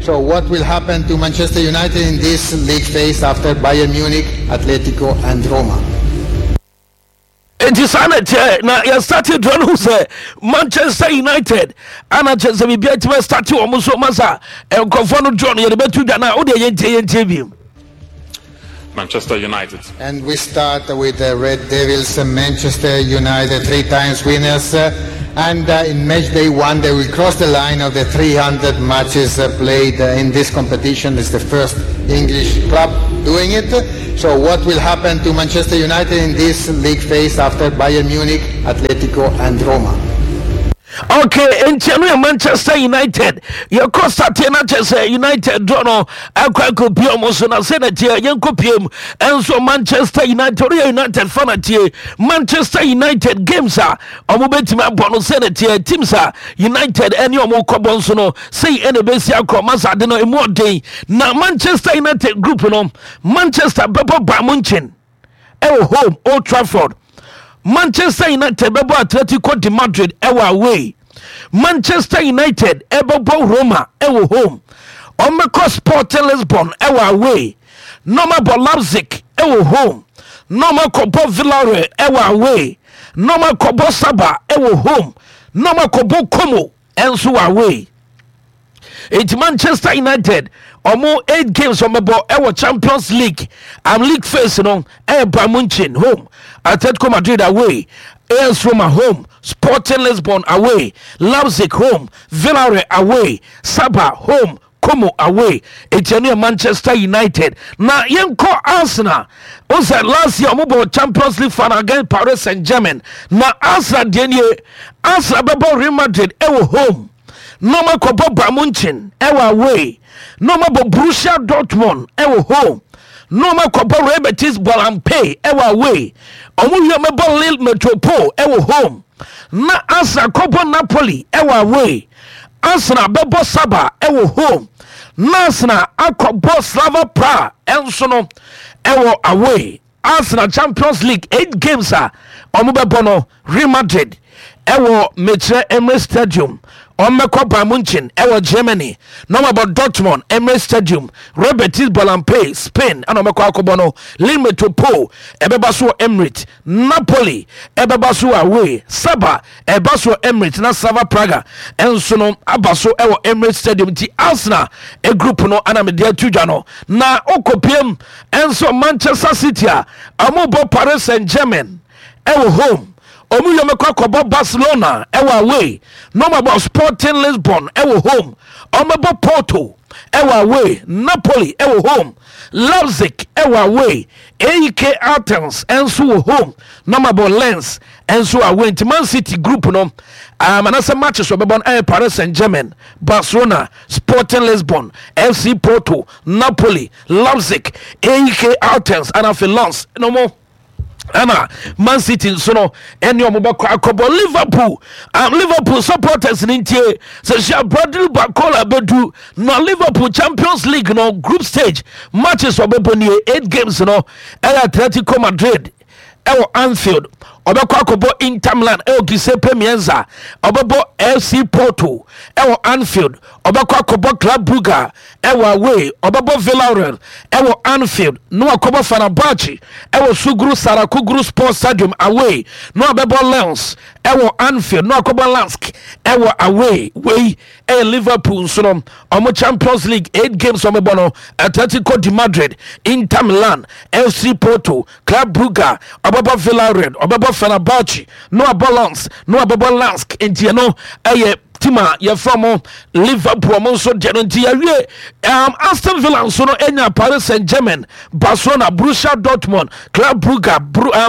So what will happen to Manchester United in this league phase after Bayern Munich, Atletico and Roma? Nti saa na ɛteɛ na yɛstate dura no hu sɛ Manchester United ana kyɛ sɛ biribia tumi state wɔ mo so ma sa nkurɔfoɔ no draw no yɛde bɛto dwa no a wodeɛ yɛntie yɛntie bio. Manchester United. And we start with the Red Devils, Manchester United, three times winners. And in match day one, they will cross the line of the 300 matches played in this competition. It's the first English club doing it. So what will happen to Manchester United in this league phase after Bayern Munich, Atletico and Roma? Okay, nti ɛno yɛ Manchester United. Yɛkɔ sateɛ no akyɛ sɛ United draw no akɔ akɔpie ɔmo so na sɛ na teɛ yɛnkɔpie mu ɛnso Manchester United ɔno yɛ United fa na tie Manchester United games a ɔmo bɛtumi abɔ no sɛ na teɛ teams a United ɛne ɔmo kɔbɔ nso no sei ɛna ɛbɛsi akɔ masade no ɛmu ɔden na Manchester United group no Manchester bɛbɔ Bayern Munchen ɛwɔ home Old Trafford. Manchester United bɛbɔ Atletico de Madrid ɛwɔ away. Manchester United ɛbɛbɔ Roma ɛwɔ home. Ɔmmɛkɔ Sporting Lisbon ɛwɔ away. Na ɔmabɔ Leipzig ɛwɔ home. Na ɔmakɔbɔ Villarreal ɛwɔ away. Na ɔmakɔbɔ Saba ɛwɔ home. Na ɔmakɔbɔ Como ɛnso wɔ away. Enti Manchester United ɔmo 8 games ɔmɛbɔ ɛwɔ Champions League league phase no ɛyɛ Bayern Munchen home, Atletico Madrid away, AS Roma home, Sporting Lisbon away, Leipzig home, Villarreal away, Saba home, Como away. Eti ɛno yɛ Manchester United. Na yɛnkɔ Arsenal. O sɛ last year ɔmo bɔ Champions League final against Paris Saint-Germain. Na Arsenal deɛ nie, Arsenal bɛbɔ Real Madrid ɛwɔ home. Na ɔmo akɔbɔ Bayern Munchen ɛwɔ away. Na ɔmo abɔ Borussia Dortmund ɛwɔ home. Na ɔmo akɔbɔ Real Betis Balompié ɛwɔ away. Ɔmo wie ɔmo bɔ Lille Metropole ɛwɔ home. Na Arsenal kɔbɔ Napoli ɛwɔ away. Arsenal bɛbɔ Saba ɛwɔ home. Na Arsenal akɔbɔ Slavia Prague ɛnso no ɛwɔ away. Arsenal Champions League 8 games a ɔmo bɛbɔ no, Real Madrid ɛwɔ mekyerɛ Emirates Stadium, ɔmmɛkɔ Bayern Munchen ɛwɔ Germany, na ɔmabɔ Dortmund Emirates Stadium, Real Betis Balompié Spain ɛna ɔmɛkɔ akɔbɔ no, Lille Metropole ɛbɛba so wɔ Emirates, Napoli ɛbɛba so wɔ away, Saba ɛba so wɔ Emirates, na Slavia Praga ɛnso no aba so ɛwɔ Emirates Stadium. Nti Arsenal group no ana mede ato dwa no. Na okopiem ɛnso Manchester City a ɔmo bɔ Paris Saint-Germain ɛwɔ home. Ɔmo yɛ ɔmɛkɔ akɔbɔ Barcelona ɛwɔ away. Na ɔmo abɔ Sporting Lisbon ɛwɔ home. Ɔmo Porto ɛwɔ away, Napoli ɛwɔ home, Leipzig ɛwɔ away, AEK Athens ɛnso wɔ home, na ɔmo abɔ Lens ɛnso away. Nti Man City group no anasɛ matches ɔbɛbɔ no ɛyɛ Paris Saint-Germain, Barcelona, Sporting Lisbon, FC Porto, Napoli, Leipzig, AEK Athens ɛna afei Lens no mo ɛna Man City nso no ɛne ɔmo bɛkɔ akɔbɔ. Liverpool supporters ne ntie sɛ hyia Bradley Barcola bɛdu na Liverpool Champions League no group stage matches ɔbɛbɔ nie. 8 games no ɛyɛ Atletico Madrid ɛwɔ Anfield, ɔbɛkɔ akɔbɔ Inter Milan ɛwɔ Giuseppe Meazza, ɔbɛbɔ FC Porto ɛwɔ Anfield, ɔbɛkɔ akɔbɔ Club Brugge ɛwɔ away, ɔbɛbɔ Villarreal ɛwɔ Anfield, na wakɔbɔ Fenerbahce ɛwɔ Sukru Saracoglu Sports Stadium away, na wabɛbɔ Lens ɛwɔ Anfield, na wakɔbɔ Lask ɛwɔ away. Wei ɛyɛ Liverpool nso no ɔmo Champions League 8 games ɔmo bɔ no: Atletico de Madrid, Inter Milan, FC Porto, Club Brugge, ɔbɛbɔ Villarreal, ɔbɛbɔ Fenerbahce, na wabɔ Lens, na wabɛbɔ Lask. Nti ɛno ɛyɛ team a yɛfrɛ mo Liverpool ɔmo nso deɛ no. Nti yɛwie Aston Villa nso no anya Paris Saint Germain, Barcelona, Borussia Dortmund, Club Brugge,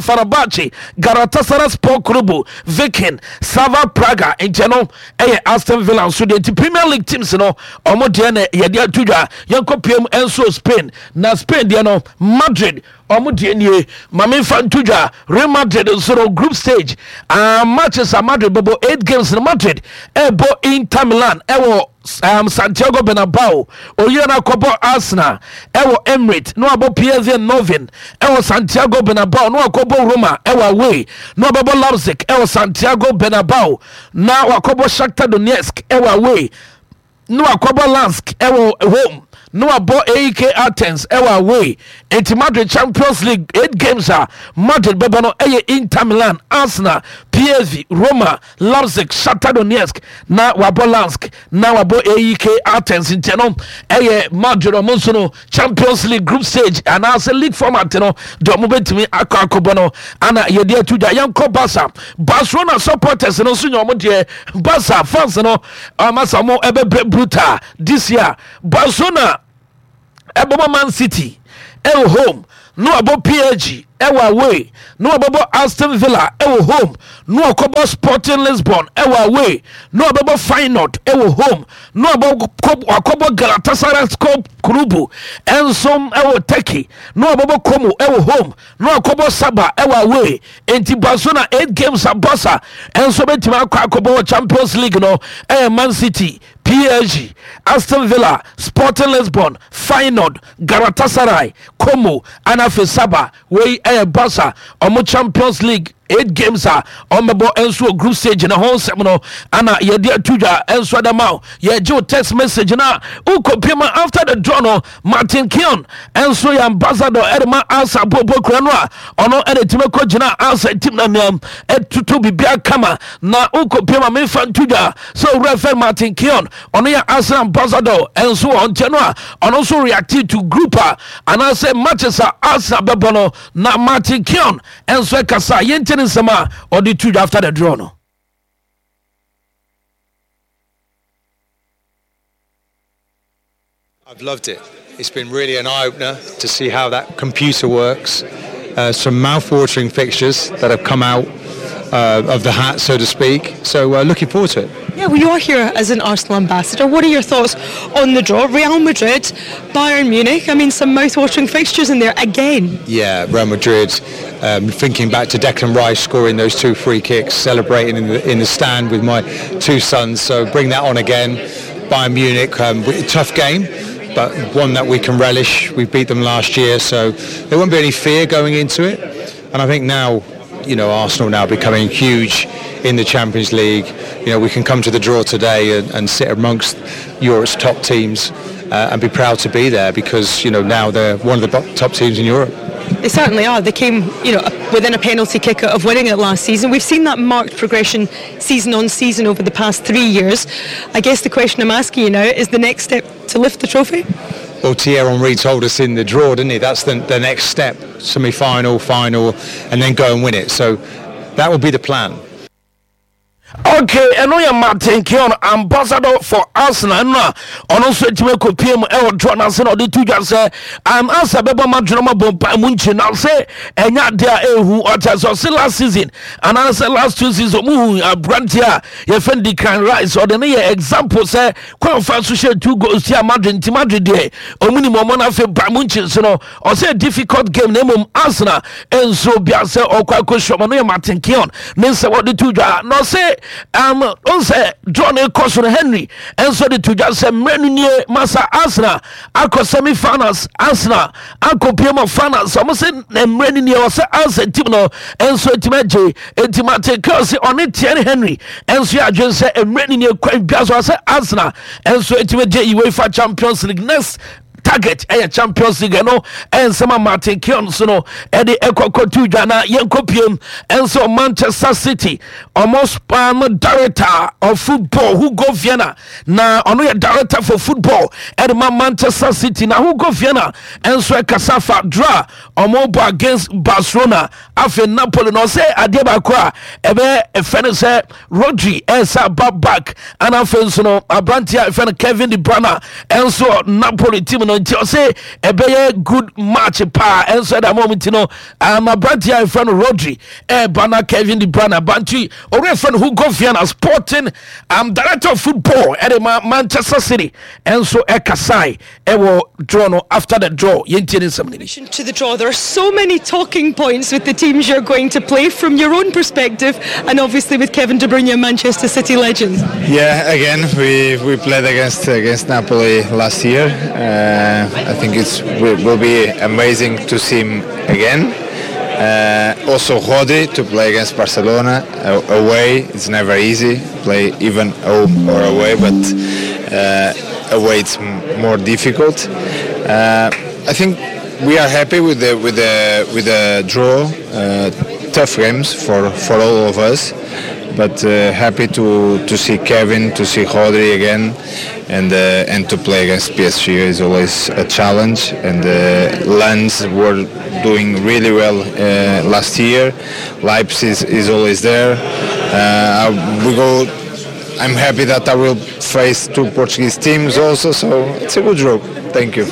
Fenerbahce, Galatasaray Sport Club, Viking, Slavia Praga. Nti ɛno ɛyɛ Aston Villa nso deɛ. Nti Premier League teams no ɔmo deɛ na yɛde ato dwa. Yɛnkɔ piem nso Spain. Na Spain deɛ no, Madrid ɔmo deɛ nie, maame nfa nto dwa. Real Madrid nso no group stage matches a Madrid bɛbɔ, 8 games no, Madrid ɛbɔ Inter Milan ɛwɔ Santiago Bernabeu. Oyere no akɔbɔ Arsenal ɛwɔ Emirates, na wabɔ PSV Eindhoven ɛwɔ Santiago Bernabeu, na wakɔbɔ Roma ɛwɔ away, na wabɛbɔ Leipzig ɛwɔ Santiago Bernabeu, na wakɔbɔ Shakhtar Donetsk ɛwɔ away. na wakɔbɔ Lansk ɛwɔ home na wabɔ AEK Athens ɛwɔ away. Enti Madrid Champions League 8 games a Madrid bɛbɔ no ɛyɛ Inter Milan, Arsenal, PSV, Roma, Leipzig, Shakhtar Donetsk na wabɔ Lansk na wabɔ AEK Athens. Nti ɛno ɛyɛ Madrid ɔmo nso no Champions League group stage anaasɛ league format no deɛ ɔmo bɛtumi akɔ akɔbɔ no ana yɛde ato dwa. Yɛnkɔ Barca. Barcelona supporters no nso nyɛ ɔmo deɛ. Barca fans no ɔmo asa ɔmo ɛbɛbrɛ brutal this year. Barcelona ɛbɛbɔ Man City ɛwɔ home na wabɔ PSG ɛwɔ away na wabɛbɔ Aston Villa ɛwɔ home na wakɔbɔ Sporting Lisbon ɛwɔ away na wabɛbɔ Feyenoord ɛwɔ home na wakɔbɔ Galatasaray Kurubu ɛnso ɛwɔ Turkey na wabɛbɔ Como ɛwɔ home na wakɔbɔ Saba ɛwɔ away. Enti Barcelona 8 games a Barca ɛnso bɛtumi akɔ akɔbɔ wɔ Champions League no ɛyɛ Man City, PSG, Aston Villa, Sporting Lisbon, Feyenoord, Galatasaray, Como ɛna afei Saba. Wei ɛyɛ Barca ɔmo Champions League 8 games a ɔmbɛbɔ nso wɔ group stage na ho nsɛm no ana yɛde ato dwa nso adama o. Yɛgye wo text message na wokɔpie ma after the draw no. Martin Keown nso yɛ ambassador ɛde ma Arsenal bɔbɔ kura no a ɔno ɛde tumi kɔ gyina Arsenal team na nea ɛtutu biribiara kama na wokɔpie ma memfa nto dwa sɛ owura fɛ Martin Keown ɔno yɛ Arsenal ambassador nso wɔ nkyɛn no a ɔno nso react to group a anaasɛ matches a Arsenal bɛbɔ no na Martin Keown nso ɛkasa yɛntie ne nsɛm a ɔde to dwa after the draw no. I've loved it. It's been really an eye-opener to see how that computer works. Some mouth-watering fixtures that have come out of the hat, so to speak. So looking forward to it. Yeah, well, you are here as an Arsenal ambassador. What are your thoughts on the draw? Real Madrid, Bayern Munich, I mean, some mouth-watering fixtures in there again. Yeah, Real Madrid, thinking back to Declan Rice scoring those 2 free kicks, celebrating in the stand with my 2 sons, so bring that on again. Bayern Munich, tough game, but one that we can relish. We beat them last year, so there won't be any fear going into it. And I think now, Arsenal now becoming huge in the Champions League. We can come to the draw today and sit amongst Europe's top teams and be proud to be there because, now they're one of the top teams in Europe. They certainly are. They came, within a penalty kick of winning it last season. We've seen that marked progression season on season over the past 3 years. I guess the question I'm asking you now is the next step to lift the trophy? Thierry Henry told us in the draw, didn't he? That's the next step, semi-final, final, and then go and win it. So that will be the plan. Okay, ɛno yɛ Martin Keown, ambassador for Arsenal, ɛno a ɔno nso atumi akɔpie mu ɛwɔ draw no ase na ɔde to dwa sɛ Arsenal bɛbɔ ma dwene ma bɔ mpa mu nkyi na sɛ ɛnyɛ adeɛ a ɛhu ɔkyɛ sɛ ɔse last season anaasɛ last 2 season ɔmo hu aberanteɛ a yɛfɛ no Declan Rice, ɔde no yɛ example sɛ kwan fa so hyɛ 2 goals tia Madrid, nti Madrid deɛ ɔmo nim ɔmo no afei ba mu nkyi nso no ɔsɛ difficult game na mmom Arsenal nso bia sɛ ɔkɔ akɔhyia ɔmo no yɛ Martin Keown ne nsɛm ɔde to dwa na ɔsɛ ɔnsɛ draw no kɔ so no Henry nso de to dwa sɛ mmerɛ no nie masa Arsenal akɔ semi finals, Arsenal akɔ pie mu finals, ɔmo sɛ mmerɛ no nie ɔsɛ Arsenal team no nso atumi agye. Enti Martin Keown sɛ ɔne Thierry Henry nso yɛ adwene sɛ mmerɛ no nie kwan bia so ɔsɛ Arsenal nso atumi agye UEFA Champions League. Next target ɛyɛ Champions League. Ɛno ɛnsɛm a Martin Keown so no ɛde ɛkɔkɔ to dwa na yɛnkɔ piem ɛnso Manchester City ɔmo spam director of football Hugo Viana, na ɔno yɛ director for football ɛde ma Manchester City, na Hugo Viana ɛnso ɛkasa fa draw ɔmo bɔ against Barcelona afei Napoli na ɔsɛ adeɛ baako a ɛbɛ ɛfɛ no sɛ Rodri ɛsɛ aba back ana afei nso no aberanteɛ a ɛfɛ no Kevin De Bruyne ɛnso Napoli team no nti ɔsɛ ɛbɛyɛ good match paa ɛnso ɛda ama ɔmo ti no aberanteɛ a ɛfɛ no Rodri ɛɛba na Kevin De Bruyne banti ɔwura ɛfɛ no Hugo Viana sporting director of football ɛde ma Manchester City ɛnso ɛkasae ɛwɔ draw no after the draw yɛntie ne nsɛm no bi. To the draw, there are so many talking points with the teams you're going to play from your own perspective and obviously with Kevin De Bruyne, Manchester City legends. Yeah, again, we played against Napoli last year. I think it will be amazing to see him again. Also Rodri to play against Barcelona away. It's never easy, play even home or away, but Away it's more difficult. I think we are happy with the with the with the draw. Tough games for for all of us, but happy to to see Kevin, to see Rodri again, and and to play against PSG is always a challenge. And Lens were doing really well last year. Leipzig is always there. We go. I'm happy that I will face two Portuguese teams also, so it's a good draw. Thank you.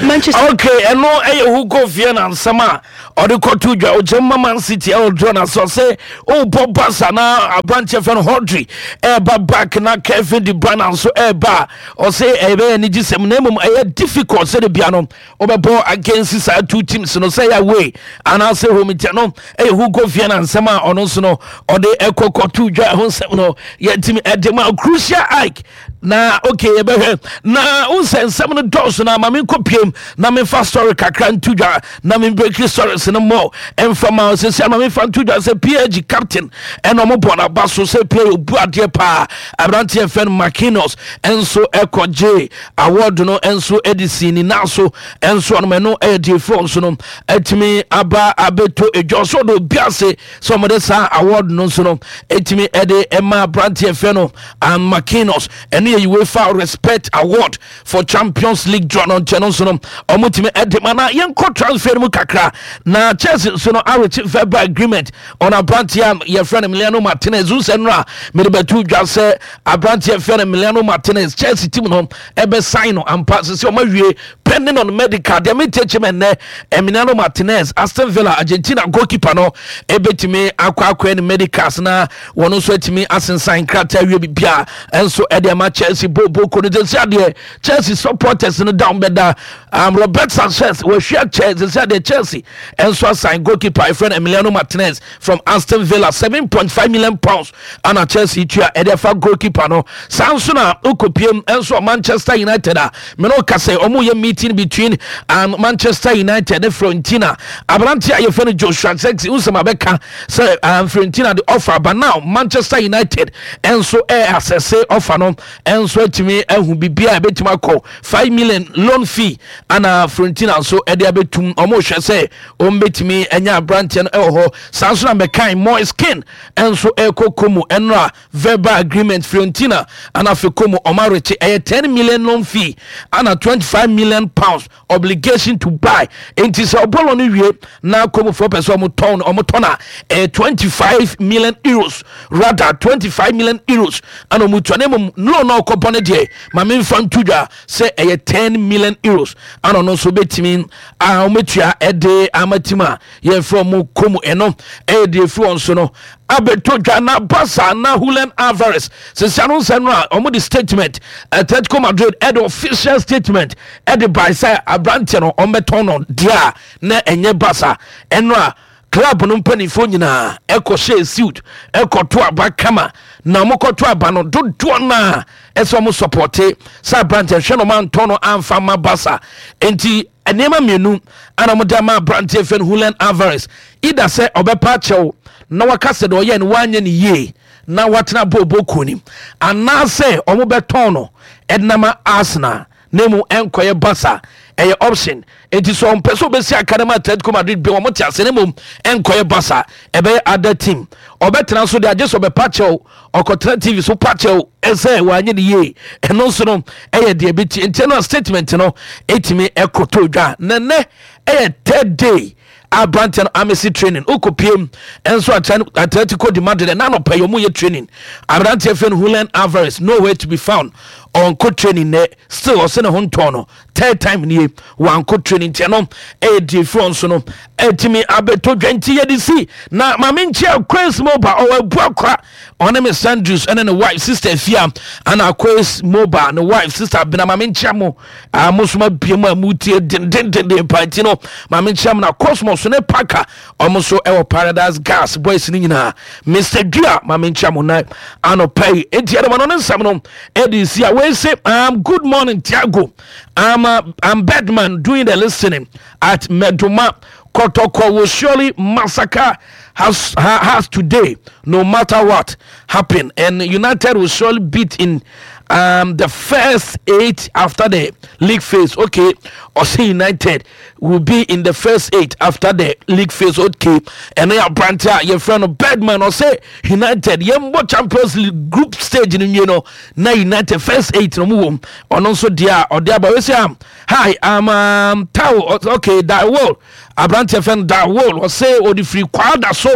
Manchester. Okay, ɛno ɛyɛ Hugo Viana nsɛm a ɔde kɔto dwa ɔgyam ma Man City ɛwɔ draw na so sɛ ɔrebɔ Barca na aberanteɛ fɛ no Rodri ɛreba back na Kevin De Bruyne nso ɛreba a ɔsɛ ɛbɛyɛ anigye sɛm na mmom ɛyɛ difficult sɛ de bia no Wobɛbɔ against saa two teams no sɛ ɛyɛ away anaasɛ home nti no ɛyɛ Hugo Viana nsɛm a ɔno nso no ɔde ɛkɔ kɔto dwa ɛho nsɛm no yɛntumi ɛde ma Crucial Ike na okay yɛbɛhwɛ na wo sɛ nsɛm no dɔɔso na ma menkɔ piem na memfa story kakra nto dwa na membreki stories no mmɔ ɛmfa ma sɛsi ama memfa nto dwa sɛ PSG captain ɛna ɔmo bɔ n'aba so sɛ player obu adeɛ paa aberanteɛ fɛn Marquinhos ɛnso ɛkɔgye Award no nso de sii ne nan so nso ɔnom ɛno ɛyɛ deɛ firi nso no atumi aba abɛtɔ edwa so ɔde obi ase sɛ wɔde saa award no nso no atumi ɛde ɛma aberanteɛ fɛ no and McKinnos ɛno yɛ UEFA Respect Award for Champions League draw no nkyɛn no nso no wɔtumi ɛde ma na yɛnkɔ transfer no mu kakra na Chelsea nso no arekye verbal agreement on aberanteɛ a yɛfrɛ no Emiliano Martinez nsɛ no a mede bɛto dwa sɛ Aberanteɛ fɛ no Emiliano Martinez Chelsea team no ɛbɛ sign no ampa sisi ɔmo awie pending on medical deɛ mente akyi mɛ nnɛ Emiliano Martinez Aston Villa Argentina goalkeeper no ɛbɛtumi akɔ akɔɛ ne medicals na wɔn nso atumi asensan nkrataa awie bibia ɛnso ɛde ama Chelsea bo boko no sisi adeɛ Chelsea supporters no down bɛda um, Robert Sanchez wɔahwia Chelsea sisi adeɛ Chelsea ɛnso asan goalkeeper ɛfrɛ no Emiliano Martinez from Aston Villa 7.5 million pounds ana Chelsea tua ɛde afa goalkeeper no saa nso na okopiem nso Manchester United a mene ɔka sɛ ɔmo yɛ meeting between um, Manchester United ne Fiorentina aberante a yɛfɛ no Joshua Zirkzee wosɛm abɛka sɛ um, Fiorentina de offer but now Manchester United nso ɛ asɛse offer no nso atumi ahu biribi a ɛbɛtumi akɔ 5 million loan fee ana Fiorentina nso ɛde abɛtum ɔmo hwɛ sɛ ɔmo anya aberanteɛ no ɛwɔ hɔ saa nso na mɛkan Moise Kean nso ɛrekɔ Como ɛnora verbal agreement Fiorentina ana afei Como ɔmo arekye ɛyɛ 10 million loan fee ana 25 million pounds obligation to buy nti sɛ ɔbɔlɔ no wie na Como foɔ pɛ sɛ ɔmo tɔn ɔmo tɔn a ɛyɛ 25 million euros rather 25 million euros ana ɔmo tua na mmom loan na ɔkɔ bɔ ne deɛ maame nfa nto dwa sɛ ɛyɛ 10 million euros ana ɔno nso bɛtumi a wɔbɛtua ɛde ama tim a yɛmfrɛ ɔmo Como ɛno ɛyɛ deɛ ɛfiri wɔn so no abɛtɔ dwa na Barca na Julian Alvarez sisia no nsɛm no a ɔmo de statement Atletico Madrid ɛde official statement ɛde bae sɛ aberanteɛ no ɔmbɛtɔn no deɛ a na ɛnyɛ Barca ɛno a club no mpanimfoɔ nyinaa ɛkɔhyɛɛ suit ɛkɔto aba kama na ɔmokɔto aba no dodoɔ no a ɛsɛ ɔmo sɔpɔte sɛ aberanteɛ hwɛ no ɔmo antɔn no amfa ma Barca nti Nneɛma mmienu ana wɔde ama aberanteɛ fɛ no Julian Alvarez, either sɛ ɔbɛpa akyɛw na waka sɛ deɛ ɔyɛ no wanyɛ no yie na watena bɔɔlbɔ kuo nim, anaasɛ wɔbɛtɔn no de ama Arsenal na emu ɛnkɔyɛ Barca. Ɛyɛ option. Enti sɛ ɔmpɛ sɛ ɔbɛsi aka no ma Atletico Madrid bi wɔn te ase na mmom ɛnkɔyɛ Barca, ɛbɛyɛ other team. Ɔbɛtena so deɛ agye sɛ ɔbɛpa kyɛw ɔkɔtena tv so pa kyɛw sɛ wanyɛ ne yie ɛno nso no ɛyɛ deɛ bi ti nti no statement no ɛtumi ɛkɔtɔ dwa na nnɛ ɛyɛ third day aberanteɛ no amesi training wokɔpiem nso Atletico de Madrid ɛna anɔpa yi ɔmo yɛ training aberanteɛ fɛ no Julian Alvarez nowhere to be found ɔnkɔ training nɛ still ɔsɛ ne ho ntɔn no third time nie wankɔ training nti ɛno ɛyɛ deɛ firi nso no ɛtumi abɛtɔ dwa nti yɛde si na maame nkyia Quays Mobile ɔwɔ abu akora ɔne me Sandrews ɛne ne wife sister fia ana Quays Mobile ne wife sister bena maame nkyia mo a mo nso ma bie mu a mo tie dendendenden pa nti no maame nkyia mo na Cosmos ne Parker ɔmo nso ɛwɔ Paradise Gas boys ne nyinaa Mr Dua maame nkyia mo na anɔpa yi enti ɛde ma no ne nsɛm no ɛde si a wei se um, good morning Tiago I'm, uh, I'm Bedman doing the listening at Meduma Kotoko will surely massacre has, has today no matter what happen and United will surely beat in. the first eight after the league phase. Okay, ɔsɛ United will be in the first eight after the league phase. Okay, ɛno yɛ aberante a yɛfrɛ no Birdman. Ɔsɛ United yɛmbɔ Champions League group stage no nwie no na United first eight no mu wom. Ɔno nso deɛ a ɔde aba wei sɛ, hi, I'm Tao. Okay, Dawol, aberanteɛ fɛ no Dawol. Ɔsɛ ɔde firi Kwada so.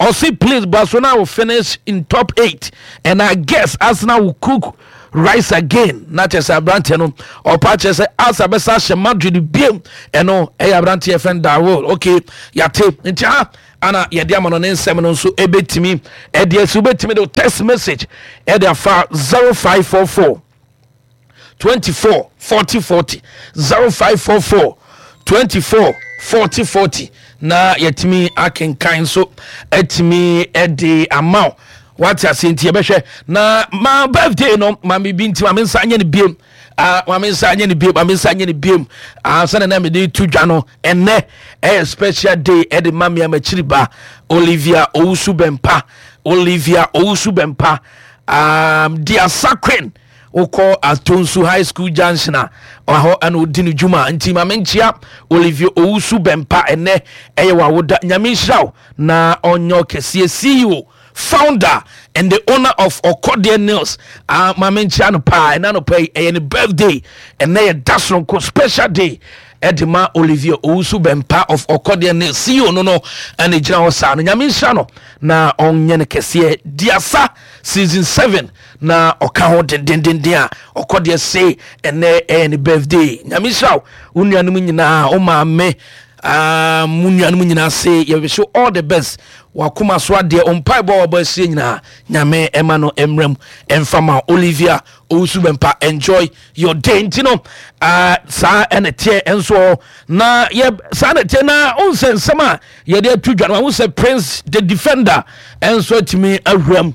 Ɔsɛ please, Barcelona will finish in top eight and I guess Arsenal will cook rice again. Na kyerɛ sɛ aberanteɛ no ɔpa kyerɛ sɛ Arsenal bɛsa ahyɛ Madrid biem. Ɛno ɛyɛ aberanteɛ fɛ no Dawol. Okay, yate. Nti ha ana yɛde ama no ne nsɛm no nso ɛbɛtumi ɛde asi. Wobɛtumi de text message ɛde afa 0544 24 40 40, 0544 24 40 40, na yɛtumi akenkan nso atumi ɛde ama wo. Wate ase? Nti yɛbɛhwɛ na ma birthday no ma me bi, nti ma me nsa nyɛ no biem. Ah, ma me nsa nyɛ no biem, ma me nsa nyɛ no biem. Ah, sɛne na mede to dwa no, ɛnɛ ɛyɛ special day ɛde ma me amakyiri ba Olivia Owusu Bɛmpa. Olivia Owusu Bɛmpa, Diasa Queen, wokɔ Atonsu High School junction a, ɔhɔ ɛna ɔdi no dwuma. Nti ma menkyia Olivia Owusu Bɛmpa. Ɛnɛ ɛyɛ wawoda. Nyame nhyira wo na ɔnyɛ ɔkɛseɛ. CEO, founder and the owner of Ɔkɔdeɛ Nails. Ah, ma menkyia no paa. Ɛna no pa yi ɛyɛ ne birthday. Ɛnɛ yɛ da soronko, special day ɛde ma Olivia Owusu Bɛmpa of Ɔkɔdeɛ Nails. CEO no ɛna gyina hɔ saa no. Nyame nhyira no na ɔnyɛ no kɛseɛ. Diasa season 7 na ɔka ho dendendenden a ɔkɔdeɛ se ɛnɛ ɛyɛ ne birthday. Nyame nhyira wo, wo nuanom nyinaa, wo maame, mo nuanom nyinaa se yɛbɛhyɛ all the best. Wakoma so adeɛ, ɔmpaebɔ a wɔbɔ asie nyinaa, Nyame ɛma no mmerɛ mu ɛmfa ma Olivia Owusu Bɛmpa. Enjoy your day. Nti no saa ɛna teɛ nso na yɛ saa na teɛ na onsɛ nsɛm a yɛde ato dwa no ahu sɛ Prince the Defender ɛnso atumi awuram.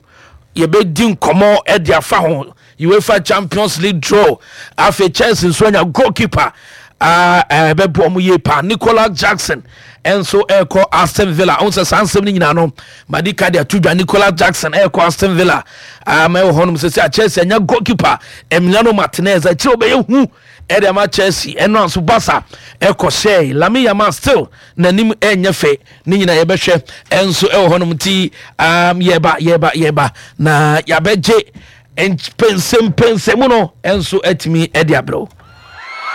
Yɛbɛdi nkɔmmɔ ɛde afa ho UEFA Champions League draw. Afei Chelsea nso anya goalkeeper ɛbɛboa ɔmo yie paa. Nicolas Jackson ɛnso ɛrekɔ Aston Villa. Ɔmo sɛ saa nsɛm no nyinaa no madi ka de ato dwa. Nicolas Jackson ɛrekɔ Aston Villa ama ɛwɔ hɔnom sɛ Chelsea anya goalkeeper Emiliano Martinez. Akyerɛ ɔbɛyɛ hu ɛde ama Chelsea. Ɛno nso Barca ɛkɔ hyɛ Lamine Yamal, still n'anim ɛnyɛ fɛ. Ne nyinaa yɛbɛhwɛ ɛnso ɛwɔ hɔnom. Nti yɛba yɛba yɛba na yɛabɛgye mpɛnsɛmpɛnsɛmu no ɛnso atumi ɛde abrɛw.